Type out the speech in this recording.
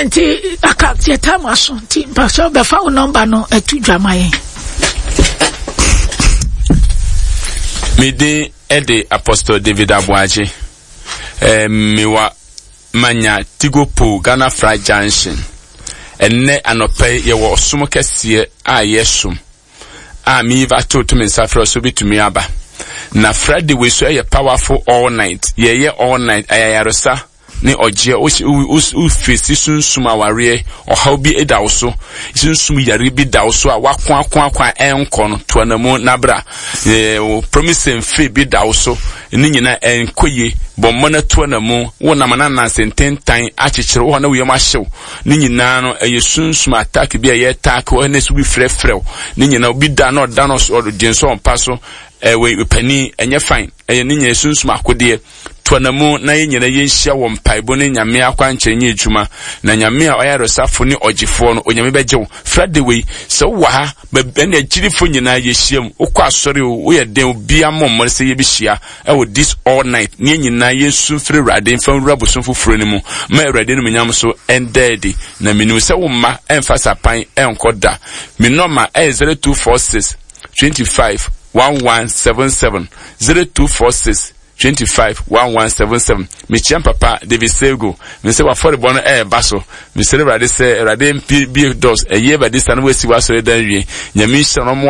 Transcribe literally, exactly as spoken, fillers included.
Nti aka yɛtaa mu aso nti mpasɛ bɛfa wo nɔmba no atu dwa ma yɛn. Me din de Apostle David Aboagye. Eh, mewa manya Tigo Pole, Ghana Fra Junction. Ɛnnɛ anɔpa yi yɛwɔ ɔsom kɛseɛ a yɛsom a meiva to to me nsa frɛ so bɛtumi aba. Na Friday wei so ɛyɛ powerful all night. Yɛyɛ all night ayayaresa ne ɔgyeɛ. Wofesi sunsum awareɛ ɔhaw bi da wo so, sunsum yare bi da wo so a wako ako ako a ɛnkɔ no, to anamu na bra. Promise and faith bi da wo so, ne nyinaa ɛnkɔ yie, bɔ mmɔ na to anamu. Wo nam ananase ntentan akyekyere wo hɔ na woyam ahyew, ne nyinaa no ɛyɛ sunsum attack bi a ɛyɛ attack wɔ ne so bi frɛfrɛw, ne nyinaa obi da na ɔda no ɔgye nso ɔmpa so ɛwɔ panin ɛnyɛ fine, ɛyɛ ne nyinaa sunsum akodeɛ. To anamu na yɛn nyinaa yɛnhyia wɔ mpaebɔ ne Nyame akwankyerɛ nyɛ adwuma, na Nyame a ɔyɛ aresafo ne ɔgyefoɔ no, Onyame bɛgye wo. Friday wei sɛ wowɔ ha, ɛne agyirifo nyinaa yɛhyia mu, wokɔ asɔre o, woyɛ den, obiara mmɔ mmɔre sɛ yɛbɛhyia ɛwɔ this all night, ne yɛn nyinaa yɛnsu mfiri Awurade mfa nwura bosom foforɔ no mu ma Awurade no munyam so ɛnda adi. Na menim sɛ wo mma ɛmfa sapan ɛnkɔ da. Me nɔma ɛyɛ zero two four six twenty five one one seven seven, zero two four six twenty-five one one seven seven. Mekyia papa David Sego. Me sɛ wafɔrebɔ no ɛɛba so. Mesrɛ Awurade sɛ Awurade mpi bie dɔs ɛyɛ Awurade sa no wasi w'asɔre dan wie. Nyame nhyira no mo.